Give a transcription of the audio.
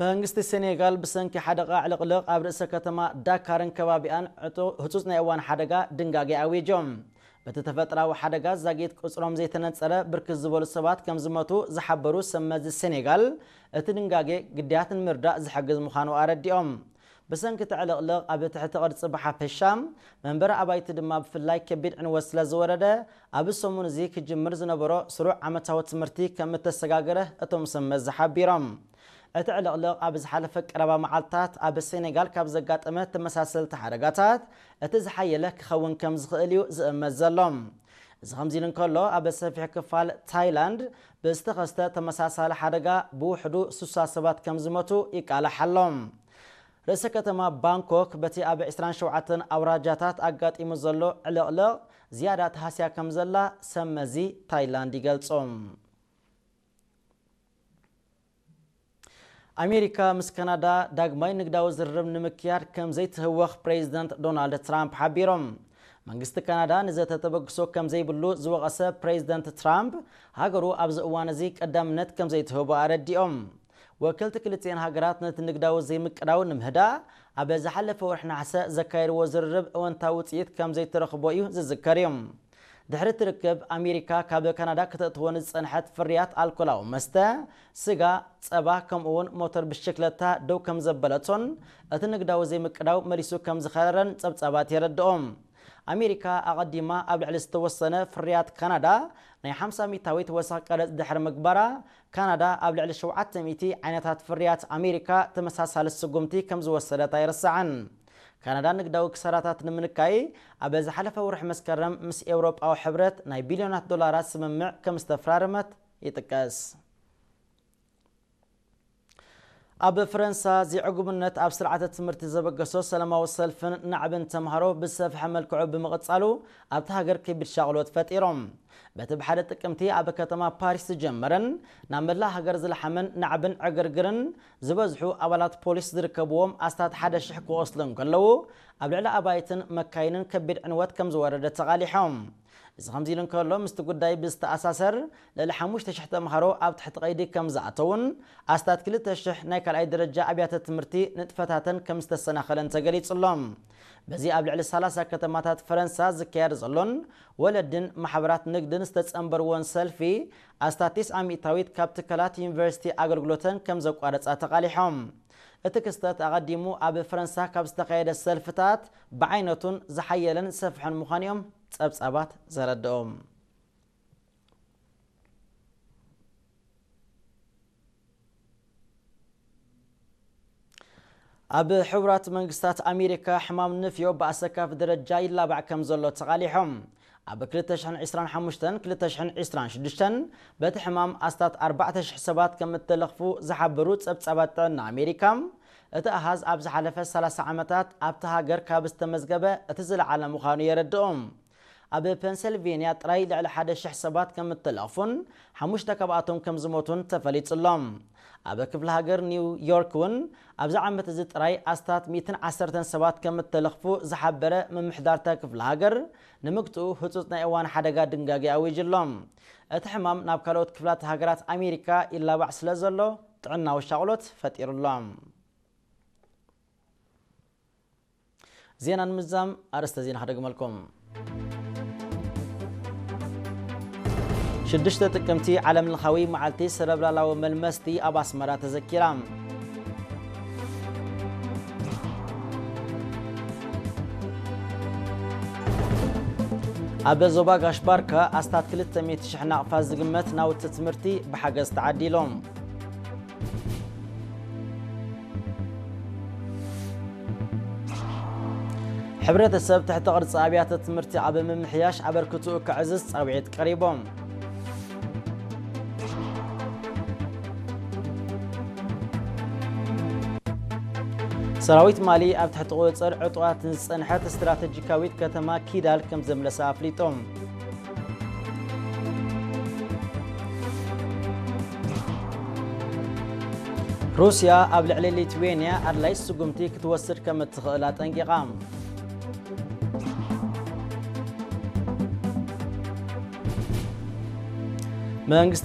መንግስቲ ሴኔጋል ብሰንኪ ሓደጋ ዕልቕልቕ ኣብ ርእሰ ከተማ ዳካርን ከባቢኣን ዕጡ-፣ ህጹጽ ናይ እዋን ሓደጋ ድንጋጌ ኣዊጆም። በቲ ተፈጥራዊ ሓደጋ ዛጊት ቁጽሮም ዘይተነጸረ ብርክት ዝበሉ ሰባት ከም ዝሞቱ ዝሓበሩ ሰብ መዚ ሴኔጋል፣ እቲ ድንጋጌ ግዳያት ንምርዳእ ዝሕግዝ ምዃኑ ኣረዲኦም። ብሰንኪ እቲ ዕልቕልቕ ኣብ ትሕቲ ቅርጺ ብሓፈሻ፣ መንበሪ ኣባይቲ ድማ ብፍላይ ከቢድ ዕንወት ስለ ዝወረደ፣ ኣብ ሰሙን እዚ ክጅምር ዝነበሮ ስሩዕ ዓመታዊ ትምህርቲ ከም እተሰጋገረ እቶም ሰብ መዚ ሓቢሮም። እቲ ዕልቕልቕ ኣብ ዝሓለፈ ቀረባ መዓልታት ኣብ ሴኔጋል ካብ ዘጋጠመ ተመሳሰልቲ ሓደጋታት እቲ ዝሓየለ ክኸውን ከም ዝኽእል እዩ ዝእመት ዘሎ። እዚ ከምዚ ኢሉ እንከሎ፣ ኣብ ሰፊሕ ክፋል ታይላንድ ብዝተኸስተ ተመሳሳሊ ሓደጋ ብውሕዱ ስሳ ሰባት ከም ዝሞቱ ይቃላሕ ኣሎ። ርእሰ ከተማ ባንኮክ በቲ ኣብ ዕስራን ሸውዓተን ኣውራጃታት ኣጋጢሙ ዘሎ ዕልቕልቕ ዝያዳ ተሃስያ ከም ዘላ ሰብ መዚ ታይላንድ ይገልጹ። ኣሜሪካ ምስ ካናዳ ዳግማይ ንግዳዊ ዝርርብ ንምክያድ ከም ዘይትህወኽ ፕሬዚደንት ዶናልድ ትራምፕ ሓቢሮም። መንግስቲ ካናዳ ንዘተ ተበግሶ ከም ዘይብሉ ዝወቐሰ ፕሬዚደንት ትራምፕ፣ ሃገሩ ኣብዚ እዋን እዚ ቀዳምነት ከም ዘይትህቦ ኣረዲኦም። ወከልቲ ክልቲኤን ሃገራት ነቲ ንግዳዊ ዘይምቅዳው ንምህዳእ ኣብ ዝሓለፈ ወርሒ ነሓሰ ዘካየድዎ ዝርርብ እወንታዊ ውፅኢት ከም ዘይተረኽቦ እዩ ዝዝከር እዩ። ድሕሪ እቲ ርክብ፣ ኣሜሪካ ካብ ካናዳ ከተእትወን ዝጸንሐት ፍርያት ኣልኮላዊ መስተ፣ ስጋ፣ ጸባ፣ ከምኡ እውን ሞተር ብሽክለታ ደው ከም ዘበለቶን እቲ ንግዳዊ ዘይምቅዳው መሊሱ ከም ዝኸረረን ጸብጻባት የረድኦ። ኣሜሪካ ኣቐዲማ ኣብ ልዕሊ ዝተወሰነ ፍርያት ካናዳ ናይ ሓምሳ ሚእታዊት ወሰኽ ቀረጽ ድሕሪ ምግባራ፣ ካናዳ ኣብ ልዕሊ ሸውዓተ ሚእቲ ዓይነታት ፍርያት ኣሜሪካ ተመሳሳሊ ስጉምቲ ከም ዝወሰደት ኣይርሳዕን። ካናዳ ንግዳዊ ክሳራታት ንምንካይ ኣብ ዝሓለፈ ወርሒ መስከረም ምስ ኤውሮጳዊ ሕብረት ናይ ቢልዮናት ዶላራት ስምምዕ ከም ዝተፈራረመት ይጥቀስ። ኣብ ፈረንሳ፣ ዘይዕጉብነት ኣብ ስርዓተ ትምህርቲ ዘበገሶ ሰላማዊ ሰልፍን ናዕብን ተምሃሮ ብዝሰፍሐ መልክዑ ብምቕጻሉ፣ ኣብታ ሃገር ከቢድ ሻቕሎት ፈጢሮም። በቲ ብሓደ ጥቅምቲ ኣብ ከተማ ፓሪስ ዝጀመረን ናብ መላእ ሃገር ዝለሓመን ናዕብን ዕግርግርን፣ ዝበዝሑ ኣባላት ፖሊስ ዝርከብዎም ኣስታት ሓደ ሽሕ ክቖስሉ እንከለዉ፣ ኣብ ልዕሊ ኣባይትን መካይንን ከቢድ ዕንወት ከም ዝወረደ ተቓሊሖም። እዚ ከምዚ ኢሉ እንከሎ፣ ምስቲ ጉዳይ ብዝተኣሳሰር፣ ልዕሊ ሓሙሽተ ሽሕ ተምሃሮ ኣብ ትሕቲ ቀይዲ ከም ዝኣተዉን ኣስታት ክልተ ሽሕ ናይ ካልኣይ ደረጃ ኣብያተ ትምህርቲ ንጥፈታተን ከም ዝተሰናኸለን ተገሊጹ ኣሎ። በዚ ኣብ ልዕሊ ሰላሳ ከተማታት ፈረንሳ ዝካየድ ዘሎን ወለድን ማሕበራት ንግድን ዝተጸንበርዎን ሰልፊ፣ ኣስታት ተስዓ ሚእታዊት ካብ ትካላት ዩኒቨርሲቲ ኣገልግሎተን ከም ዘቋረጻ ተቓሊሖም። እቲ ክስተት ኣቐዲሙ ኣብ ፈረንሳ ካብ ዝተኻየደ ሰልፍታት ብዓይነቱን ዝሓየለን ዝሰፍሐን ምዃኑ እዮም ጸብጻባት ዘረድኦም። ኣብ ሕቡራት መንግስታት ኣሜሪካ ሕማም ንፍዮ ብኣሰካፊ ደረጃ ይላባዕ ከም ዘሎ ተቓሊሖም። ኣብ ክልተ ሽሕን ዕስራን ሓሙሽተን ክልተ ሽሕን ዕስራን ሽዱሽተን በቲ ሕማም ኣስታት ኣርባዕተ ሽሕ ሰባት ከም እተለኽፉ ዝሓበሩ ጸብጻባት ጥዕና ኣሜሪካ፣ እቲ ኣሃዝ ኣብ ዝሓለፈ ሰላሳ ዓመታት ኣብቲ ሃገር ካብ ዝተመዝገበ እቲ ዝለዓለ ምዃኑ የረድኦም። ኣብ ፔንሰልቬንያ ጥራይ ልዕሊ ሓደ ሽሕ ሰባት ከም እተለኽፉን ሓሙሽተ ካብኣቶም ከም ዝሞቱን ተፈሊጹ ኣሎ። ኣብ ክፍለ ሃገር ኒው ዮርክ እውን ኣብዚ ዓመት እዚ ጥራይ ኣስታት ሚእትን ዓሰርተን ሰባት ከም እተለኽፉ ዝሓበረ ምምሕዳርታ ክፍለ ሃገር፣ ንምግትኡ ህጹጽ ናይ እዋን ሓደጋ ድንጋጌ ኣዊጁ ኣሎ። እቲ ሕማም ናብ ካልኦት ክፍላት ሃገራት ኣሜሪካ ይላባዕ ስለ ዘሎ ጥዕናዊ ሻቕሎት ፈጢሩ ኣሎ። ዜና ንምዛም ኣርእስተ ዜና ክደግመልኩም። ሽዱሽተ ጥቅምቲ ዓለም ለኻዊ መዓልቲ ሰረብላላዊ መልመስቲ ኣብ ኣስመራ ተዘኪራ። ኣብ ዞባ ጋሽ ባርካ ኣስታት ክልተ ሚእቲ ሽሕ ናቕፋ ዝግመት ናውቲ ትምህርቲ ብሓገዝ ተዓዲሎም። ሕብረተሰብ ትሕቲ ቅርጺ ኣብያተ ትምህርቲ ኣብ ምምሕያሽ ኣበርክትኡ ከዕዝዝ ጻውዒት ቀሪቦም። ሰራዊት ማሊ ኣብ ትሕቲ ቁጽጽር ዕጡቓት ንዝጸንሐት ስትራተጂካዊት ከተማ ኪዳል ከም ዘምለሰ ኣፍሊጡ። ሩስያ ኣብ ልዕሊ ሊትዌንያ ኣድላዪ ስጉምቲ ክትወስድ ከም እትኽእል ኣጠንቂቓ። መንግስቲ